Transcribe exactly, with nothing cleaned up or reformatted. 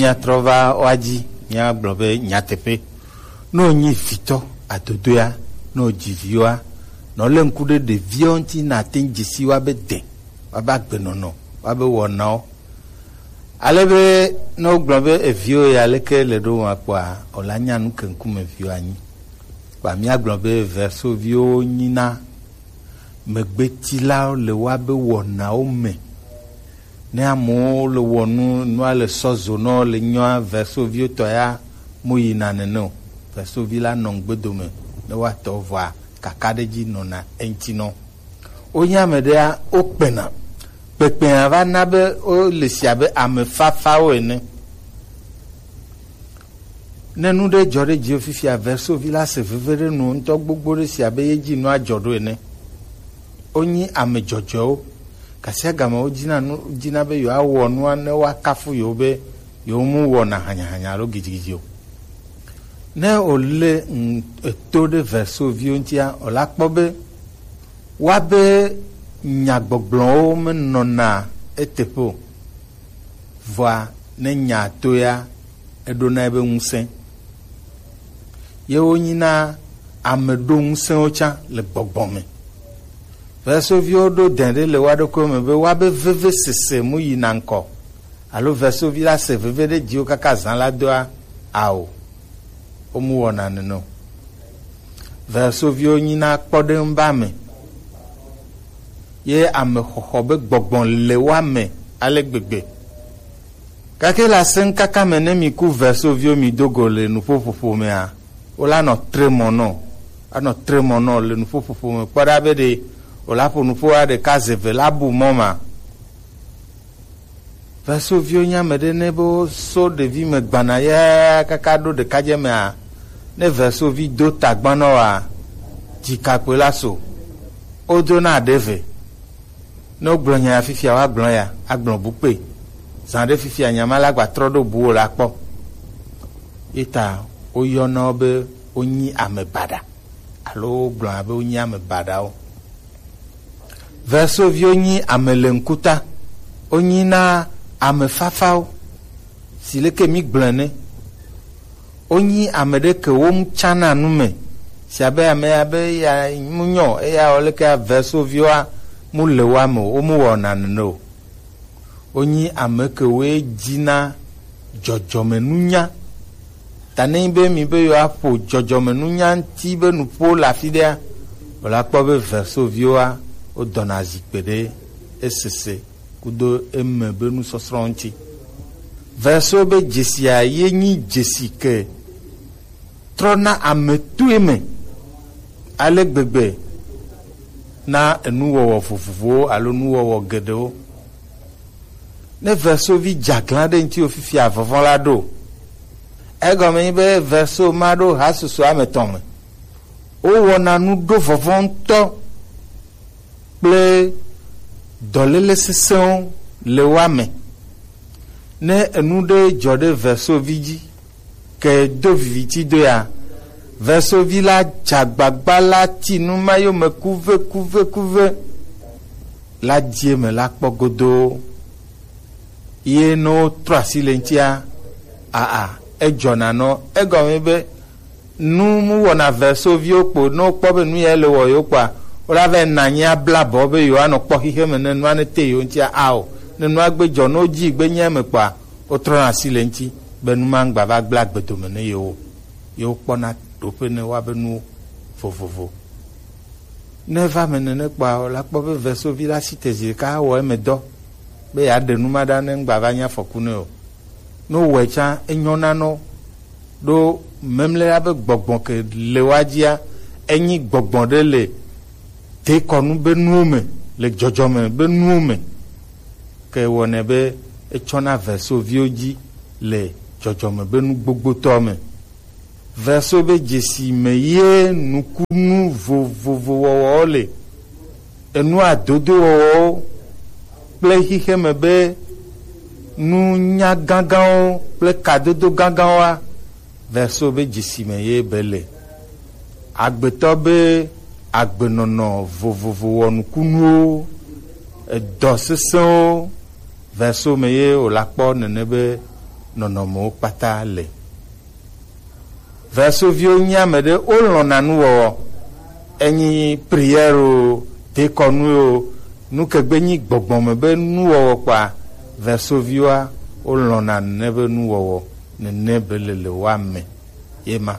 Míatrɔ va woa dzi, míagblɔ be nyateƒe. Ne wònyi vitɔ adodoea, ne wòdzi viwoa, nɔ lé ŋku ɖe ɖeviwo ŋuti, nàte ŋu dze si woabe de, woabe agbenɔnɔ, woabe wɔnawo. Ale be ne wogblɔ be eviwo ya leke le ɖo ŋua kpɔa, wòla nya nu ke ŋkume viwo anyi. Kpa míagblɔ be versoviwo nyina megbetilawo le woabe wɔnawo me. Ne amewo le wɔ nu, nua le sɔ zo nɔ le nyɔa, versoviwo tɔ ya mo yina nene o. Versovi la nɔ ŋgbedome ne woatɔ vɔa kakaɖedzi nɔna eŋuti nɔ. Wonye ame ɖea, wokpena. Kpekpea va na be wole si abe ame fafawo ene. Ne nu ɖe dzɔ ɖe dziwò fifia, versovi la se veve ɖe nu ŋutɔ gbogbo ɖe si abe ye dzi nua dzɔ ɖo ene. Wonyi ame dzɔdzɔewo. Gasiagame wodina nu, dina be yewoawɔ nua ne woakafu yewo be yewo mu wɔna hanyahanya alo gidigidi o. Ne wòle ŋ-, eto ɖe versoviwo ŋutia, wòla kpɔ be woabe nyagbɔgblɔwo menɔna eteƒe o. Vɔa ne nya to ya, eɖona ebe ŋusẽ. Ye wonyina ame ɖo ŋusẽwo tsã le gbɔgbɔ me. Versoviwo ɖo dɛn ɖe le woa ɖokuiwo me be woabe vevesese mu yina ŋkɔ, alo versovi la se veve ɖe dziwò kaka zã la doa? Ao, womu wɔna nene o. Versoviwo nyina kpɔɖeŋu be ame, ye ame xɔxɔ be gbɔgbɔ le woa me ale gbegbe. Gake le asẽŋkaka me, ne mi ku versoviwo mi do go le nuƒoƒoƒo mea, wola nɔ tre mɔ nɔ, anɔ tre mɔ nɔ le nuƒoƒoƒo me kpɔ ɖa be ɖe wòla ƒo nuƒoa ɖeka ze ve la bu mɔ ma. Versoviwo nye ame ɖe ne be woso ɖevi me gbana ya kaka ɖo ɖekadze mea, ne versovi do tagban nɔ wa, dzikakpui la so, wodona ɖe ve. Ne wogblɔ nya ya fifia, woagblɔ ya, agblɔ bu kpe. Zã ɖe fifia, nya ma la gba trɔ ɖo bu wo la kpɔ. Ye ta woyɔna wo be wonyi ame baɖa, alo wogblɔna be wonyi ame baɖawo. Versoviwo nyi ame le ŋkuta, wonyi na ame fafawo, si leke mi gblɔe ne. Wonyi ame ɖe ke wo mu tsana nu me, si abe ame ya be ya mu nyɔ, eya wɔ leke versoviwoa mu le woa me o, wo mu wɔna nene o. Wonyi ame ke woe dzina dzɔdzɔmenunya. Ta ne nyi be mi be yewoaƒo dzɔdzɔmenunya ŋuti be nuƒo le afi ɖea, wòla kpɔ be versoviwoa, wodɔna zikpe ɖe esese kudo eme be nusɔsrɔ̃ ŋuti. Verso be dzesia ye nyi dzesi ke trɔna ame toe me ale gbegbe na enuwɔwɔ vovovowo alo nuwɔwɔ geɖewo. Ne versovi dze aglã ɖe ŋutiwò fifia, vɔvɔ̃ la ɖo. Egɔme nyi be verso ma ɖo hasusu ame tɔ̃ me. Wowɔna nu ɖo vɔvɔ̃ ŋutɔ kple dɔléle sesẽwo le woa me. Ne enu ɖe dzɔ ɖe versovi dzi, ke do viviti do ya, versovi la dze agbagba la ti nu ma yome kuve, kuve, kuve, la dzi eme la kpɔ godoo. Ye ne wotrɔ asi le ŋutia, aa, edzɔna nɔ. Egɔme be nu mu wɔna versoviwo kpo, ne wokpɔ be nu ya le wɔ yewo kpɔa, wola vɛ na anyi abla bɔ be yewoanɔ kpɔ xixe me ne nua ne te yewo ŋutia, ao, ne nua gbe dzɔ, ne wodzi gbe nya me kpɔa, wotrɔna asi le ŋuti be nu ma ŋgba va gblẽ agbe dome ne yewo o. Yewo kpɔna ɖoƒe ne woabe nuwo vovovo. Ne eva me nene kpɔa, wòla kpɔ be versovi la si te zi ɖeka awɔ eme dɔ be yeaɖe nu ma ɖa ne ŋgba va nye afɔku nɛ o. Ne wòwɔe tsã, enyɔna nɔ ɖo memlea be gbɔgbɔ ke le woa dzia, enyi gbɔgbɔ ɖe le dekɔnu be nuwo me, le dzɔdzɔme be nuwo me. Ke wɔnɛ be etsɔna versoviwo dzi le dzɔdzɔme be nu gbogbotɔ me. Verso be dzesi me ye nukunu vovovo wɔwɔwo le, enu adodo wɔwɔwo kple xixeme be nunya gãgãwo kple kadodo gãgãwoa, verso be dzesi me ye be le. Agbetɔ be agbenɔnɔ vovovo wɔnukunuwo, edɔ sesẽwo, verso me ye wòla kpɔ nene be nɔnɔmewo kpata le. Vɛsoviwo nyi ame ɖe wolɔ̃na nuwɔwɔ. Enyi prière o, dekɔnu o, nukegbe nyi gbɔgbɔ me be nuwɔwɔ kpɔa, vɛsoviwoa wolɔ̃na nene be nuwɔwɔ, nene be le le woa me. Ye ma.